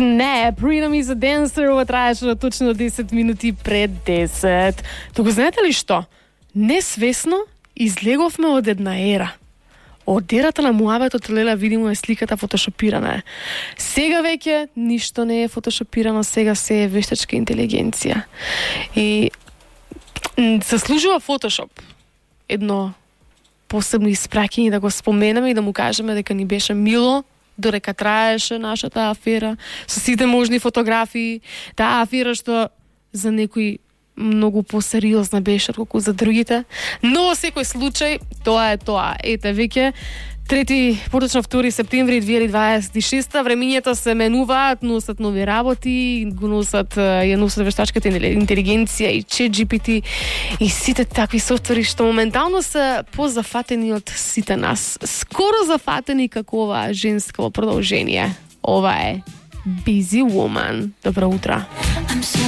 Snap, Rhythm is a Dancer, ова траеше точно 10 минути пред 10. Туку знаете ли што? Несвесно излеговме од една ера. Од ерата на муабетот, леле, видимо е сликата фотошопирана. Сега веќе ништо не е фотошопирано, сега се е вештачка интелигенција. И заслужува Фотошоп едно посебно испраќање да го споменеме и да му кажеме дека ни беше мило додека траеше нашата афера со сите можни фотографии. Таа афера што за некои многу посериозна беше отколку за другите, но во секој случај тоа е тоа. Ете веќе 2 септември 2026, времињето се менуваат, носат нови работи, ја носат вештачката интелигенција и ChatGPT и сите такви софтвери што моментално се позафатени од сите нас. Скоро зафатени како ова женско продолжение. Ова е Busy Woman. Добро утро.